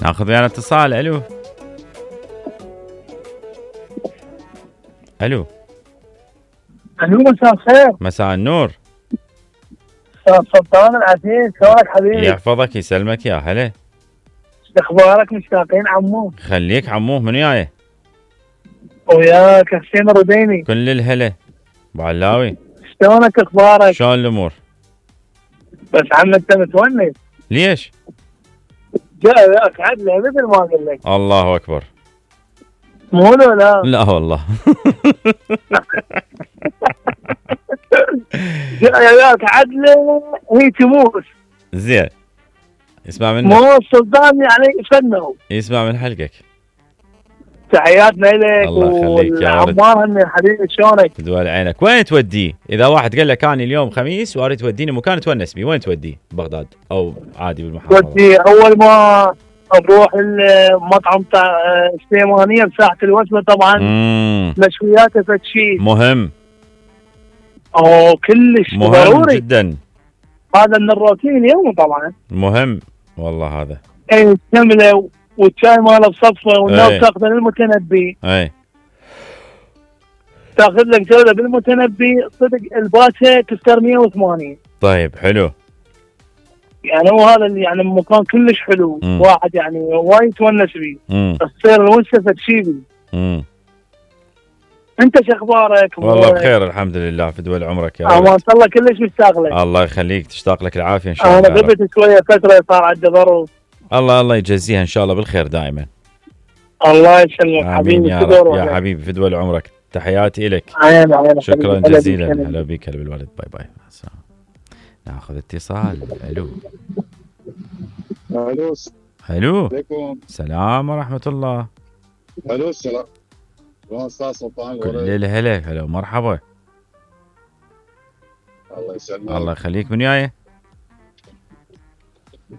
ناخذ ويانا اتصال. الو الو. الو مساء الخير. مساء النور. سلطان العزيز، شلونك حبيبي؟ يحفظك يسلمك يا هلا. اخبارك؟ مشتاقين عمو. خليك عموه. من وياي؟ وياك حسين الرديني. كل الهلا. ابو علاوي شلونك اخبارك؟ شلون الامور؟ بس عم انت متونس. ليش؟ جاء وياك عدله مثل ما اقول لك. الله اكبر. مو لا لا والله. جاء وياك عدله هي تموس. زين. اسمع منك. مو السلطان يعني فنه. يسمع من حلقك. تحياتنا لك الله يخليك يا ولد. والعمار هني حبيبي، شلونك؟ تدوال عينك. وين توديه؟ اذا واحد قال لك اني اليوم خميس واريد توديني مكان تونس بيه، وين توديه؟ بغداد او عادي بالمحافظه؟ ودي اول ما نروح المطعم تاع سليمانيه بساحه الوسمه طبعا. مشوياته فد شيء مهم. كلش مهم ضروري جدا. هذا من الروتين اليوم طبعا. مهم والله هذا. اي كمله والشاي ماله بصفه والناس تاخذه للمتنبي. اي تاخذ لك جوله بالمتنبي صدق الباشا تفتر 180. طيب حلو. يعني هو هذا اللي يعني مكان كلش حلو. واحد يعني وايد يتونس بيه. تصير الونسه فد شيء بيه. انت شو اخبارك؟ والله بخير الحمد لله. في دول عمرك يا ما شاء الله كلش مشتاق لك. الله يخليك. تشتاق لك العافيه ان شاء الله. انا غبت شويه فتره صار عندي ظروف. الله يجزيها ان شاء الله بالخير دائما. الله يسلمك حبيبي. يا حبيبي في دول عمرك. تحياتي لك. شكرا جزيلا. هلا بك. هلا بالولد. باي باي. ناخذ اتصال. الو الو. الو. عليكم السلام ورحمه الله. الو السلام. شلون استاذ سلطان؟ كل الهلا. هلا ومرحبا. الله يسلمك. الله يخليك. من وياي؟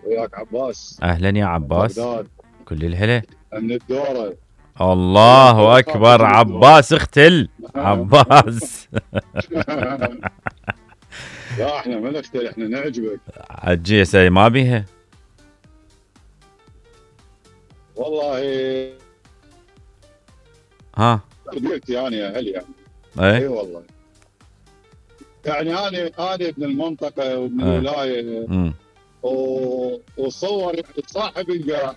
وياك عباس. اهلا يا عباس. بغداد. كل الهلا. من الدوره. الله اكبر. عباس اختل. عباس. لا احنا ما نختل، احنا نعجبك. عجيسه ما بيها والله. ها قلت يعني يا هل يعني. اي والله. يعني انا ابن المنطقه وابن الولايه. وصور صاحب القاع.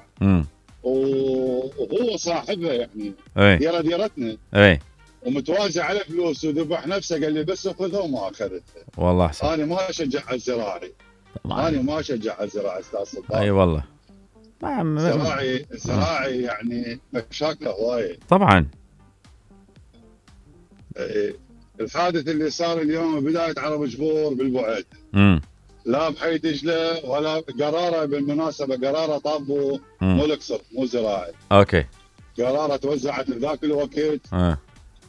وهو صاحبها يعني. ديره ديرتنا. اي ومتوازي على فلوس وذبح نفسه. قال لي بس اخذها وما اخذتها. والله احسن. انا ما اشجع على الزراعي. انا ما اشجع على الزراعه استاذ سلطان. اي والله. زراعي يعني مشاكله هوايه. طبعا. الحادث اللي صار اليوم بدايه عرب جبور بالبعد. لا بحي دجله ولا قراره. بالمناسبه قراره طابوا مو الاقصر مو زراعي. اوكي. قراره توزعت بذاك الوقت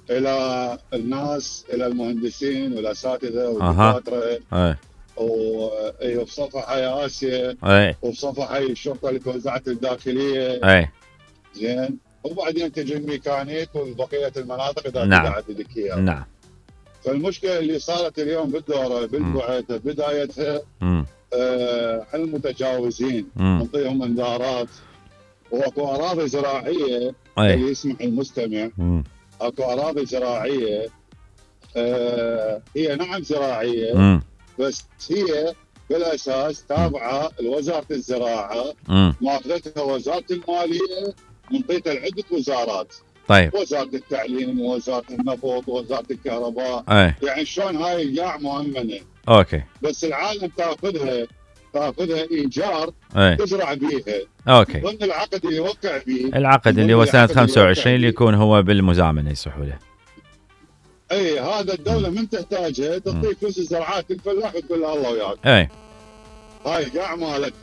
الى الناس، الى المهندسين والاساتذه والدكاتره. وبصفحه يا اسيا. وبصفحه الشرطه اللي توزعت الداخليه. زين. وبعدين تجي الميكانيك وبقيه المناطق اذا توزعت لك اياها. نعم. فالمشكله اللي صارت اليوم بالدوره بالبعد بدايتها على المتجاوزين نعطيهم انذارات. واكو اراضي زراعيه اللي يسمح المستمع. اكو اراضي زراعيه هي نعم زراعيه بس هي بالاساس تابعه لوزاره الزراعه. ماخذتها وزاره الماليه منطيتها لعده وزارات. طيب. وزاره التعليم ووزاره النفط ووزاره الكهرباء. يعني شلون هاي القاع مؤمنه. اوكي. بس العالم تاخذها ايجار. تزرع بيها. اوكي. ضمن العقد اللي يوقع فيه. العقد اللي هو سنه 25 اللي يكون هو بالمزامنه يصحوا له. اي هذا الدوله من تحتاجها تعطيه فلوس الزراعات الفلاح وتقول له الله وياك. اي هاي قاع مالك.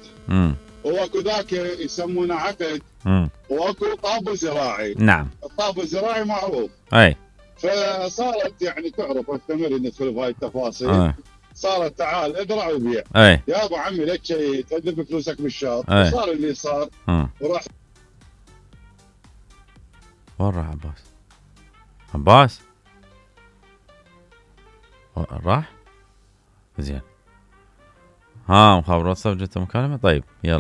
واكو ذاك يسمونه عقد. واكو طابو زراعي. نعم. الطابو الزراعي معروف. اي. فصارت يعني تعرف استمر ندخل بهاي التفاصيل. صارت تعال ازرع وبيع. يا ابو عمي لك شيء تدفع فلوسك بالشهر. صار اللي صار. وراح. وين راح عباس؟ عباس راح؟ زين. مخابرات صوت جت مكالمة. طيب يلا.